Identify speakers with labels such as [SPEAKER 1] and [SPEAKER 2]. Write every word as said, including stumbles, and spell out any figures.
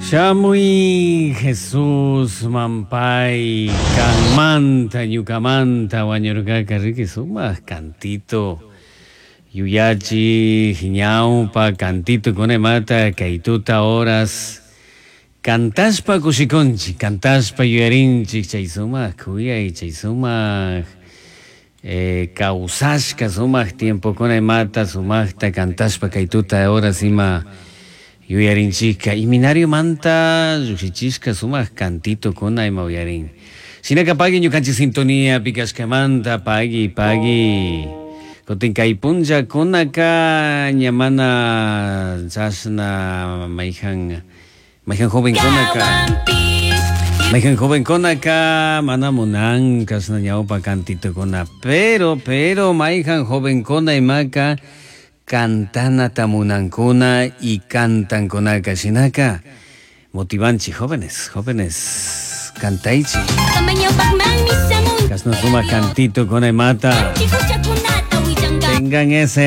[SPEAKER 1] Shamui Jesus mampay kanmanta ñukamanta wañurkaka riki sumak cantito yuyachi ñawpa cantito kunamata kay tuta horas cantashpa kushikunchik cantashpa yuyarinchik chay sumak kuyay chay sumak eh, kawsashka sumak tiempokuna imata sumakta cantashpa kay tuta horas ima yuyarinchikka iminariomanta llukshichishka sumak cantitokuna ima uyarin shinaka pagui ñukanchik sintonía pikashkamanta pagui pagui kutin kay punllakunaka ña mana chashna mayjan mayjan jovenkunaka mayjan jovenkunaka mana munan kashna ñawpa cantitokuna pero pero mayjan jovenkuna imaka cantanata munankuna y cantankunaka shinaka motivanchik jóvenes jóvenes cantaychik kashna sumak cantito kuna imata tengan ese